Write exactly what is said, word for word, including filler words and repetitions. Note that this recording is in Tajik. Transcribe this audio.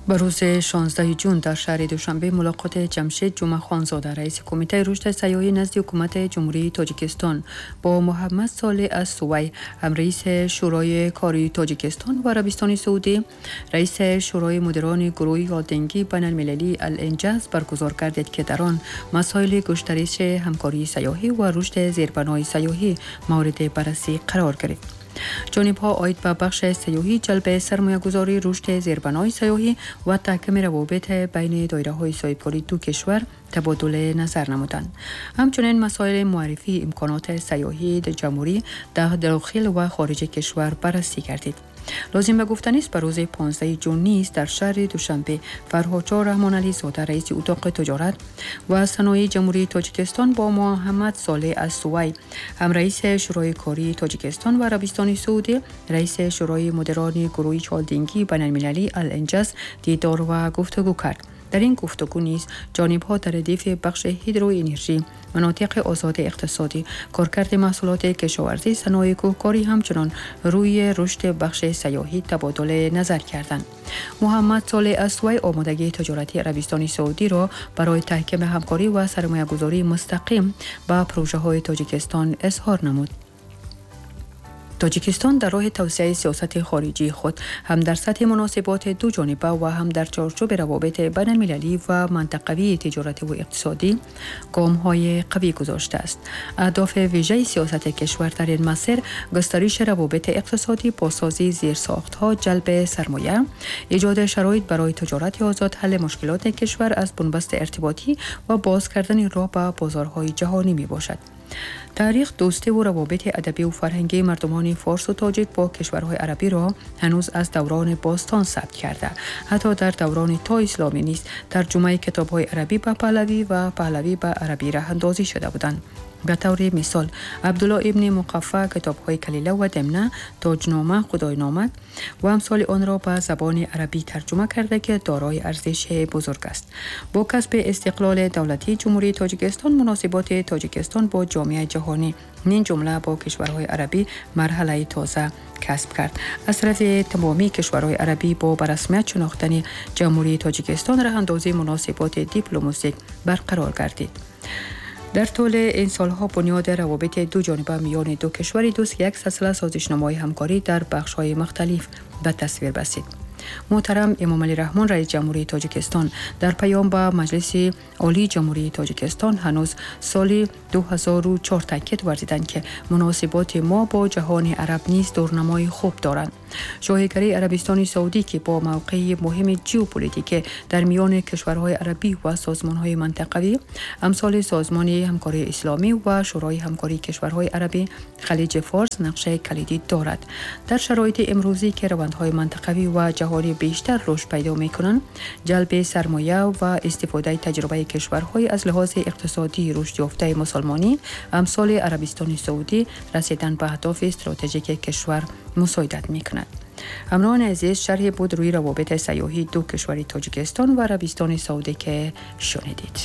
Ба рӯзи шонздаҳуми ҷун дар шаҳри Душанбе мулоқоти Ҷамшед Ҷумъахонзода, раиси Кумитаи рушди сайёҳӣ назди Ҳукумати Ҷумҳурии Тоҷикистон, бо Муҳаммад Солеҳ ас-Сувай, ҳамраиси Шӯрои кории Тоҷикистон ва Арабистони Саудӣ, раиси Шӯрои мудирони гурӯҳи холдингии байналмилалии Ал-Инҷаз баргузор гардид, ки дар он масоили густариши ҳамкории сайёҳӣ ва рушди зербанои сайёҳӣ мавриди баррасӣ қарор гирифт. Ҷонибҳо оид ба бахши сайёҳӣ, ҷалби сармоягузорӣ, рушди зербанои сайёҳӣ ва таҳкими равобит байни доираҳои соҳибкории ду кишвар табодули назар намуданд. Ҳамчунин масоили муаррифии имконоти сайёҳии ҷумҳурӣ дар дохил ва хориҷи кишвар баррасӣ гардид. Лозим ба гуфтанист, ба рӯзи понздаҳуми ҷун низ дар шаҳри Душанбе Фарҳодшоҳ Раҳмонализода, раиси Утоқи тиҷорат ва саноии Ҷумҳурии Тоҷикистон, бо Муҳаммад Солеҳ ас-Сувай, ҳамраиси Шӯрои кории Тоҷикистон ва Арабистони Саудӣ, раиси Шӯрои мудирони гурӯҳи холдингии байналмилалии Ал-Инҷаз дидор ва гуфтугӯ кард. Дар ин гуфтугӯ низ ҷонибҳо дар радифи бахши ҳидроэнержӣ, манотиқи озоди иқтисодӣ, коркарди маҳсулоти кишоварзӣ, санои кӯҳкорӣ, ҳамчунон рӯи рушди бахши сайёҳӣ табодули назар карданд. Муҳаммад Солеҳ ас-Сувай омодагии тиҷоратии Арабистони Саудиро барои таҳкими ҳамкорӣ ва сармоягузории мустақим ба прожаҳои Тоҷикистон изҳор намуд. Тоҷикистон дар роҳи тавсеаи сиёсати хориҷии худ ҳам дар сатҳи муносиботи дуҷониба ва ҳам дар чорчӯби равобити байналмилалӣ ва мантақавии тиҷоративу иқтисодӣ гомҳои қавӣ гузоштааст. Аҳдофи вижаи сиёсати кишвар дар ин масир густариши равобити иқтисодӣ, бозсозии зерсохтҳо, ҷалби сармоя, эҷоди шароит барои тиҷорати озод, ҳалли мушкилоти кишвар аз бунбасти иртиботӣ ва боз кардани роҳ ба бозорҳои ҷаҳонӣ мебошад. Таърих дӯстиву равобити адабиву фарҳангии мардумони форсу тоҷик бо кишварҳои арабиро ҳанӯз аз даврони бостон сабт карда. Ҳатто дар даврони то исломӣ низ тарҷумаи китобҳои арабӣ ба паҳлавӣ ва паҳлавӣ ба арабӣ раҳандозӣ шуда буданд. Ба таври мисол, Абдулло ибни Муқаффа китобҳои Калила ва Демна, Тоҷнома, Худойнома ва амсоли онро ба забони арабӣ тарҷума карда, ки дорои арзиши бузург аст. Бо касби истиқлоли давлатии Ҷумҳурии Тоҷикистон муносиботи Тоҷикистон бо ҷомеаи ҷаҳонӣ, мин ҷумла бо кишварҳои арабӣ, марҳалаи тоза касб кард. Аз тарафи тамомии кишварҳои арабӣ бо ба расмият шинохтани Ҷумҳурии Тоҷикистон раҳандозии муносиботи дипломатик барқарор гардид. Дар тӯли ин солҳо бунёди равобити дуҷониба миёни ду кишвари дӯст як силсила созишномаҳои ҳамкорӣ дар бахшҳои мухталиф ба тасвир расид. Муҳтарам Эмомалӣ Раҳмон, раиси Ҷумҳурии Тоҷикистон, дар паём ба Маҷлиси Олии Ҷумҳурии Тоҷикистон ҳанӯз соли ду ҳазору чор таъкид варзиданд, ки муносиботи мо бо ҷаҳони араб низ дурнамои хуб доранд. Шоҳигарии Арабистони Саудӣ, ки бо мавқеи муҳими ҷеополитикӣ дар миёни кишварҳои арабӣ ва созмонҳои мантақавӣ амсоли Созмони ҳамкории исломӣ ва Шӯрои ҳамкории кишварҳои арабӣ Халиҷи Форс нақшаи калидӣ дорад. Дар шароити имрӯзӣ, ки равандҳои мантақавӣ ва ҷаҳонӣ бештар рушд пайдо мекунанд, ҷалби сармоя ва истифодаи таҷрибаи кишварҳои аз лиҳози иқтисодӣ рушдёфтаи мусулмонӣ амсоли Арабистони Саудӣ расидан ба аҳдофи стратегики кишвар мусоидат мекунад. Ҳамроҳони азиз, шарҳе буд рӯи равобити сайёҳии ду кишвари Тоҷикистон ва Арабистони Саудӣ, ки шунидед.